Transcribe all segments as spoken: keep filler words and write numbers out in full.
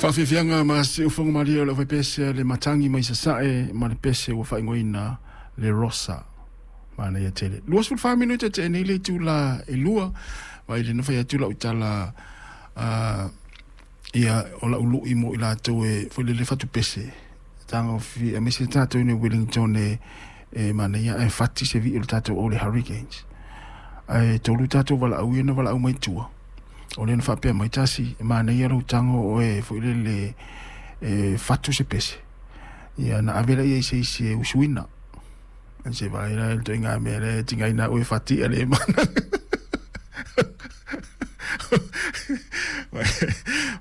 Faafiafiaga ma siufogo malie o le aufaipese le matagi mai sasae ma le pese ua faaigoaina le Rosa. Manaia tele. Luasefulufa minute teʻe nei le itulā e lua. Vaai le nofai atu lau tala uh, ia o lau luʻi mo i latou e foi lele fatupese taga fi aemaise tatou i Wellington e e manaia ae fati se viʻi o le tatou o le Hurricanes ae tolu tatou valaau ia na valaau mai tua o lea na faapea mai tasi e manaia lou tago oe foi lele e fatu se pese ia na ave laia i se isi e usuina se vaai la le ituaiga mea lea e tigaina au e fati a le mana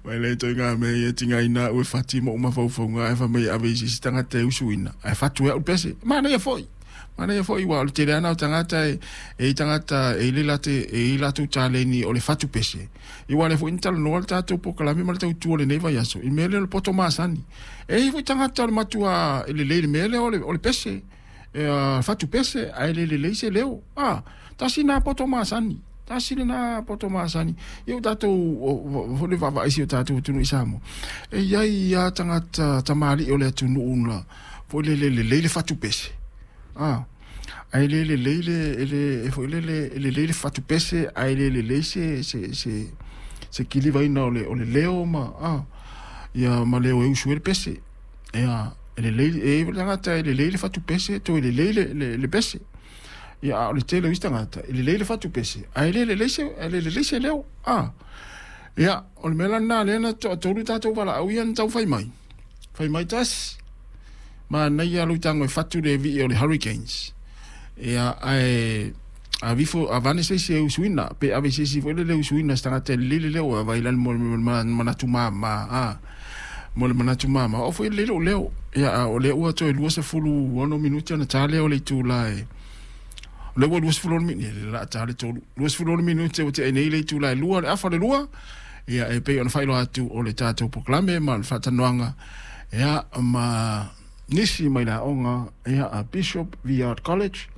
mai le ituaiga mea ia tigaina au e fati ma uma faufauga ae fai mai ave i se isi tagata e usuina ae fatu e au le pese manaia foi manaia foi ua o le tele ana o tagata e e i tagata e i le late e i latou taleni o le fatu pese i ua le foi na talanoa le tatou polokalame ma le tautua o lenei vaiaso i mea lea o le poto masani e i foi tagata o le matua e lelei le mea lea o le, o le pese e, uh, fatu pese ae le lelei se leo ah tasi na poto masani tasi lena poto masani ia o tatou foi le vaavaai si o tatou atunuu i Samoa e iai ia tagata tamalii o le atunuu la foi le lelei le fatu pese ah ae le lelei le le foi le le lelei le fatu pese ae le lelei se se se se kilivaina o le o le leo ma ah ia ma leo e usu e le pese ia e lelei e le tagata e lelei le fatu pese toe lelei le le, le pese ia a o le tele o isi tagata e lelei le fatu pese ae le lelei se ae le lelei se leo ah ia o le mea la lena lea na toatolu tatou valaau ia na tau fai mai fai mai tasi manaia lou tago e fatu le viʻi o le Hurricanes ia ae avifo avane se isi e usuina pe ave se isi foi lele usuina se tagata e lelei le leo a vai la mo le manatu mama a mo le manatu mama o foi lelei lou leo ia a o lea ua toe luasefulu ono minute ona ta lea o le itulā e o lea ua luasefulu ono minute le la ta le tolu luasefulu ono minute ua teʻe nei le itulā e lua le afa le lua ia e pei ona faailoa atu o le tatou polokalame ma le faatalanoaga ia ma nisi mai le aoga ia a Bishop Viard College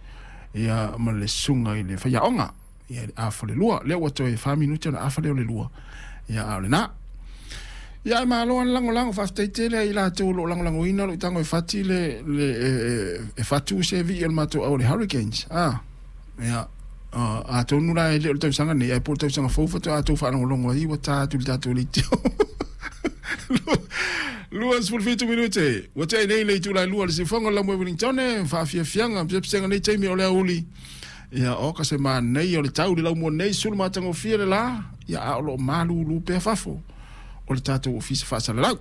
ia ma le susuga i le faiaoga ia le afa le lua lea ua toe fa minute ona afa lea o le lua ia a o lena ia e malo ana lagolago faafetai tele ai latou o loo lagolagoina lou tago e fati le, le e, e, e fatu se viʻi o le matou au le Hurricanes ah ia uh, atonu la e le o le tausaga nei ae po o le tausaga fou faatoa tou faalogologo ai ua ta atu i le tatou leitio lua sefulu fitu minute ua teʻe nei le itulā e lua le siufogo le laumua Wellington faafiafiaga pesepesega nei taimi o le auli ia o ka se manaia o le tau le laumua nei sulu matagofie le lā ia a o loo malūlū pea fafo o le tatou ofisa faasalalau.